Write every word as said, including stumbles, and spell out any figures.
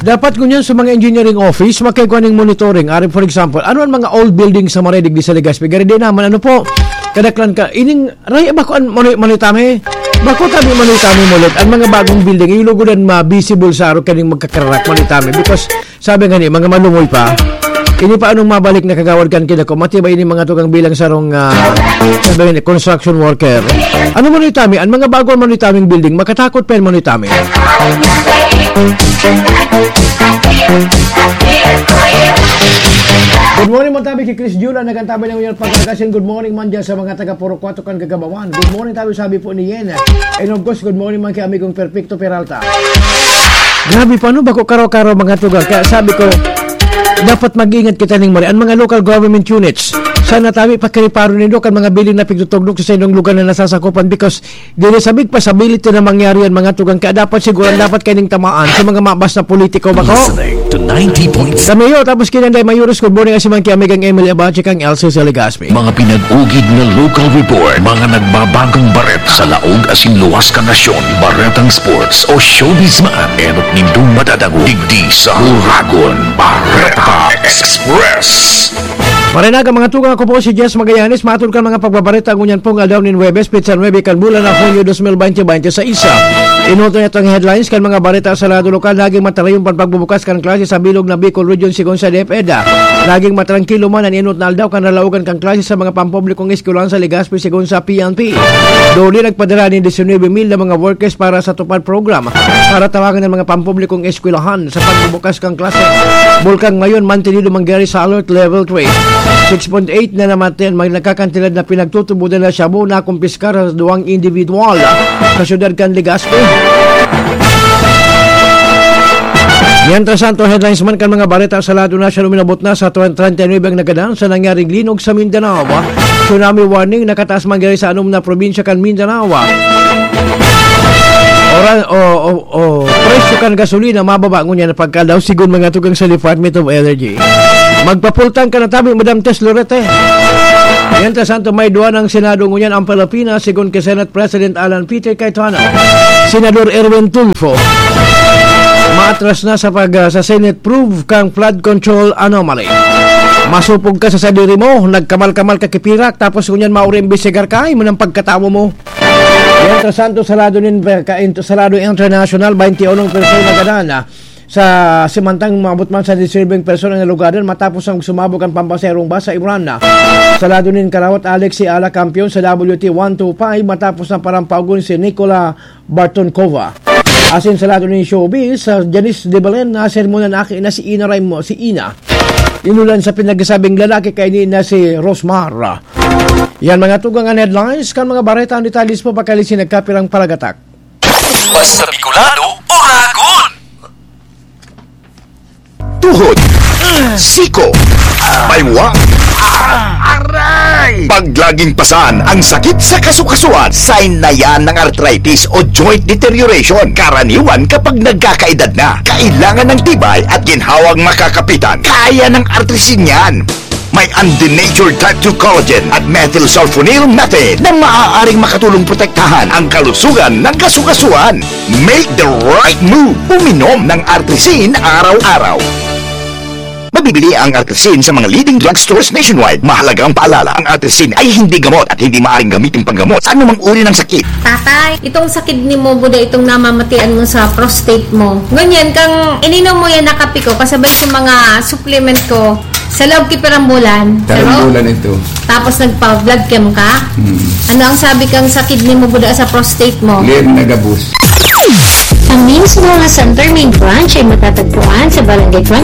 Dapat ngunyan sa mga engineering office, makigwa ning monitoring. Ari, for example, ano ang mga old building sa Maray digdi sa Legazpi? Gari di naman, ano po, kadaklan ka, ining, ray, bako an manoy, manoy tami? Bako tami, manoy tami, mulit. Ang mga bagong building, yung lugudan ma-visible sa araw kaning magkakararak, manoy tami. Because, sabi nga ni, mga malumoy pa, ini pa anong mabalik na kagawad kan kinako, matibay ini mga tugang bilang sarong, ah, sabi nga ni, construction worker. Ano manoy tami? Ang mga bago manoy taming building, makatakot pa yan manoy tami. Good morning, man tabi kay Chris Jula, nagantabay ng Union Pagkakasin. Good morning man dyan sa mga taga Purok Cuatro kan Gagabawan. Good morning tabi, sabi po ni Yen. And of course, good morning man kay amigong Perfecto Peralta. Grabe pa, no? Bako karaw-karaw mga tugang. Kaya sabi ko, dapat mag-ingat kita ning mari. Ang mga local government units, sana tabi pakiriparo nindo kan mga building na pigtutugdok sa inyong lugar na nasasakupan, because dili sabig pa sa ability na mangyari yan, mga tugang. Kaya dapat siguro, dapat kaining tamaan sa mga mabas na politiko, bako. Listening to ninety point seven. Sa Mayor, tapos kinanday Mayores, good morning, asiman kay amigang Emily Abache, kang L C sa Legazpi. Mga pinag-ugid na local report, mga nagbabagong bareta sa laog asin luwas kan nasyon, baretang sports o showbiz man, enot nindong madadangog digdi sa Uragon Bareta Express. Marinag ang mga tugang, ako po si Jess Magallanes, matod kan mga pagbabareta ngunyan pong aldaw nin Huwebes, petsa nuebe kan bulan na Hunyo dos mil bente bente sa isa. Inuto niya itong headlines kan mga bareta sa lado lokal, naging matarayon pan pagbubukas kan klase sa bilog na Bicol Region, sigon sa DepEd. Naging matrangkilo man an inot na aldaw kan nalaogan kan klase sa mga pampublikong eskwelahan sa Legazpi, sigon sa P N P. Duli nagpadara nin disinuybe mil na mga workers para sa TUPAD program para tawangan ang mga pampublikong eskwelahan sa pagbubukas kan klase. Bulkan ngayon, mantenido mangyari sa Alert Level three. Six point eight na namatayan, may nagkakantidad na pinagtutubodan na shabu na kumpiskar sa duwang individual sa syudad kan Legazpi. Mientras tanto, headlines man kan mga bareta sa lado nasyonal, uminabot na sa treinta y nuebe ang nagadan sa nangyaring linog sa Mindanao. Tsunami warning nakataas mangyari sa anom na probinsya kan Mindanao. Oran, o, o, o, presyo kan gasolina mababa ngunyan na pagkadaw, sigon mga tugang sa Department of Energy. Magpapultang ka na tabi, Madam Tess Lorete. Mientras tanto, may duwa ng Senado ngunyan ang Pilipinas, sigon kay Senate President Alan Peter Cayetano. Senador Erwin Tulfo, maatras na sa pag, ah, sa Senate prove kang flood control anomaly. Masupog ka sa sadiri mo, nagkamal-kamal ka kipirak, tapos ngunyan mauring imbestigar ka, imo ng pagkatawo mo. Mientras tanto, sa lado nin, ka-, sa lado international, bainti unong persona nagadan, ah, sa simantang maabot man sa disturbing persona na lugadan matapos ang sumabog ang pampaserong bus sa Iran. Sa lado nin karawat, Alex si Ala Campion sa W T one two five matapos na parampagon si Nicola Bartonkova. Asin sa lado nin showbiz, sa Janice de Belen, na sermonan aki na si Ina Raimo, si Ina. Inulan sa pinagsabing lalaki kaini na si Rosmar. Yan mga tugang an headlines kan mga bareta. Ang detalles po, pakalisin nagkapirang palagatak. Basta Bicolano, Uragon! Tuhod, siko, baywa, aray! Pag laging pasan ang sakit sa kasukasuan, sign na yan ng arthritis o joint deterioration. Karaniwan kapag nagkakaedad na, kailangan ng tibay at ginhawang makakapitan. Kaya ng Artrisin yan. May undenatured type two collagen at methylsulfonyl methane na maaaring makatulong protektahan ang kalusugan ng kasukasuan. Make the right move. Uminom ng Artrisin araw-araw. Mabibili ang Artrisin sa mga leading drugstores nationwide. Mahalagang paalala, ang Artrisin ay hindi gamot at hindi maaaring gamitin panggamot sa anumang uri ng sakit. Tatay, itong sakit ni mo, buda itong namamatian mo sa prostate mo. Ngunyan, kang ininom mo yan na kape ko, kasabay sa mga supplement ko, sa loob ki pirang bulan. Pirang bulan ito. Tapos nagpa-blood chem ka? Hmm. Ano ang sabi kang sa kidney mo, buda sa prostate mo? Lir nagabus. Ang Mims Moha Center Main Branch ay matatagpuan sa Barangay twenty